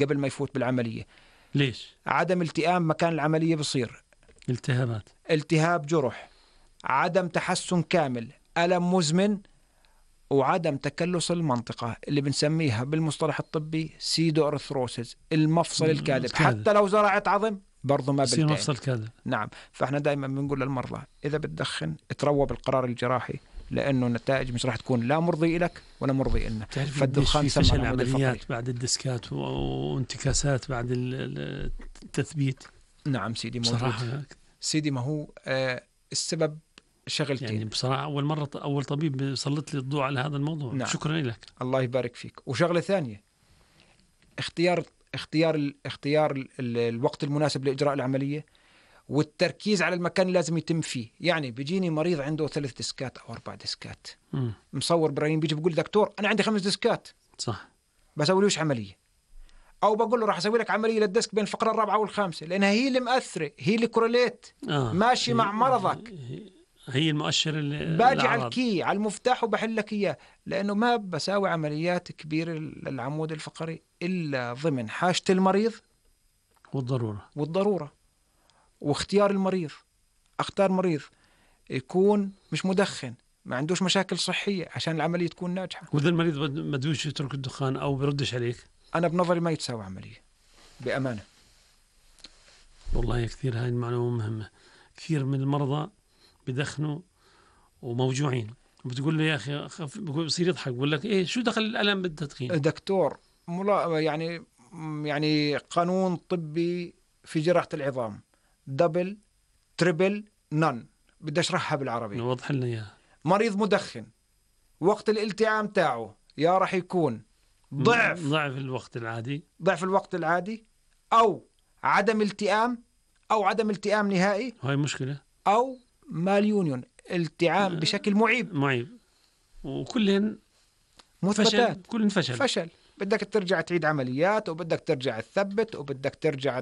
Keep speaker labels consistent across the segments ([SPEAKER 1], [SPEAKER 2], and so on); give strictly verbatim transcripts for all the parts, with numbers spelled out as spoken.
[SPEAKER 1] قبل ما يفوت بالعملية.
[SPEAKER 2] ليش؟
[SPEAKER 1] عدم التئام مكان العملية بصير
[SPEAKER 2] التهابات،
[SPEAKER 1] التهاب جرح، عدم تحسن كامل، ألم مزمن، وعدم تكلس المنطقة اللي بنسميها بالمصطلح الطبي سيدو أرثروسيس، المفصل الكاذب. حتى لو زرعت عظم برضو ما
[SPEAKER 2] بصير مفصل كاذب.
[SPEAKER 1] نعم. فاحنا دائما بنقول للمرضى إذا بتدخن اتروى بالقرار الجراحي، لأنه النتائج مش راح تكون لا مرضي لك ولا مرضي لنا.
[SPEAKER 2] فالدخان في فشل عمليات بعد الديسكات وانتكاسات بعد التثبيت.
[SPEAKER 1] نعم سيدي موجود. سيدي ما هو آه السبب شغلتين.
[SPEAKER 2] يعني بصراحة أول مرة أول طبيب سلط لي الضوء على هذا الموضوع.
[SPEAKER 1] نعم.
[SPEAKER 2] شكرا لك.
[SPEAKER 1] الله يبارك فيك. وشغلة ثانية، اختيار اختيار اختيار ال ال الوقت المناسب لإجراء العملية، والتركيز على المكان اللي لازم يتم فيه. يعني بيجيني مريض عنده ثلاث ديسكات أو أربع ديسكات، م. مصور برايم، بيجي بيقول دكتور أنا عندي خمس ديسكات،
[SPEAKER 2] صح،
[SPEAKER 1] بسوي ليش عملية؟ أو بقول له راح أسوي لك عملية للديسك بين الفقرة الرابعة والخامسة، لأنها هي اللي مأثرة، هي اللي كورليت آه. ماشي هي مع مرضك،
[SPEAKER 2] هي المؤشر اللي
[SPEAKER 1] باجي على الكي على المفتاح وبحل لك إياه. لأنه ما بساوي عمليات كبيرة للعمود الفقري إلا ضمن حاجة المريض
[SPEAKER 2] والضرورة
[SPEAKER 1] والضرورة واختيار المريض. اختار مريض يكون مش مدخن، ما عندوش مشاكل صحية عشان العملية تكون ناجحة.
[SPEAKER 2] وإذا المريض ما بدوش يترك الدخان أو بردش عليك،
[SPEAKER 1] أنا بنظري ما يتساوي عملية بأمانة.
[SPEAKER 2] والله كثير هاي المعلومة مهمة. كثير من المرضى بدخنوا وموجوعين، بتقول له يا أخي خف... بصير يضحك، بقول لك إيه شو دخل الألم بالتدخين؟
[SPEAKER 1] دكتور ملا... يعني يعني قانون طبي في جراحة العظام دبل تريبل نون، بدي أشرحها بالعربي.
[SPEAKER 2] وضح لنا إياها.
[SPEAKER 1] مريض مدخن وقت الالتئام تاعه يا راح يكون ضعف
[SPEAKER 2] ضعف الوقت العادي
[SPEAKER 1] ضعف الوقت العادي أو عدم التئام أو عدم التئام نهائي،
[SPEAKER 2] هاي مشكلة،
[SPEAKER 1] أو ماليونيون التئام بشكل معيب
[SPEAKER 2] معيب، وكلهن
[SPEAKER 1] مثبتات،
[SPEAKER 2] كلهن فشل
[SPEAKER 1] فشل. بدك ترجع تعيد عمليات، وبدك ترجع تثبت، وبدك ترجع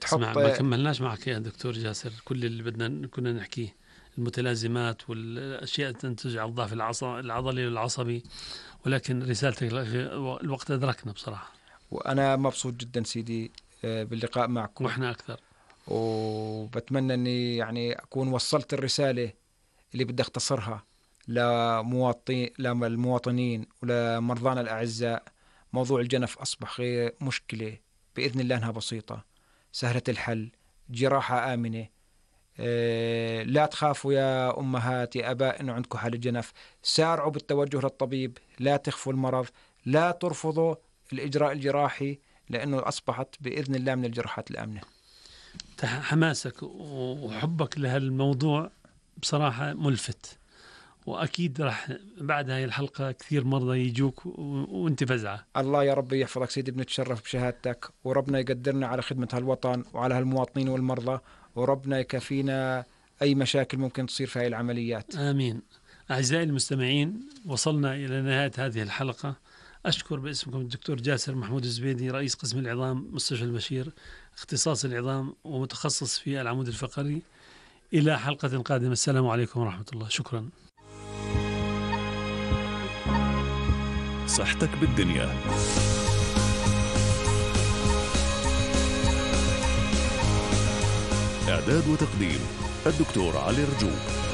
[SPEAKER 1] تحط.
[SPEAKER 2] ما كملناش معك يا دكتور جاسر كل اللي بدنا كنا نحكيه، المتلازمات والأشياء تنتج على الضعف العضلي والعصبي، ولكن رسالتك الوقت أدركنا بصراحة.
[SPEAKER 1] وأنا مبسوط جدا سيدي باللقاء معكم،
[SPEAKER 2] وإحنا أكثر،
[SPEAKER 1] وبتمنى أني يعني أكون وصلت الرسالة اللي بدي أختصرها لمواطنين للمواطنين ولمرضانا الأعزاء. موضوع الجنف أصبح غير مشكلة، بإذن الله أنها بسيطة سهلة الحل، جراحة آمنة. أه لا تخافوا يا أمهات يا أباء إنه عندكم حالة جنف، سارعوا بالتوجه للطبيب، لا تخفوا المرض، لا ترفضوا الإجراء الجراحي، لأنه أصبحت بإذن الله من الجراحات الآمنة.
[SPEAKER 2] حماسك وحبك لهالموضوع بصراحة ملفت، وأكيد راح بعد هاي الحلقة كثير مرضى يجوك وانت فزعة.
[SPEAKER 1] الله يا رب يحفظك سيدي، بنتشرف بشهادتك، وربنا يقدرنا على خدمة هالوطن وعلى هالمواطنين والمرضى، وربنا يكفينا أي مشاكل ممكن تصير في هاي العمليات.
[SPEAKER 2] آمين. أعزائي المستمعين، وصلنا إلى نهاية هذه الحلقة. أشكر باسمكم الدكتور جاسر محمود الزبيدي، رئيس قسم العظام مستشفى البشير، اختصاص العظام ومتخصص في العمود الفقري. إلى حلقة قادمة، السلام عليكم ورحمة الله. شكرا.
[SPEAKER 3] صحتك بالدنيا. إعداد وتقديم الدكتور علي رجوب.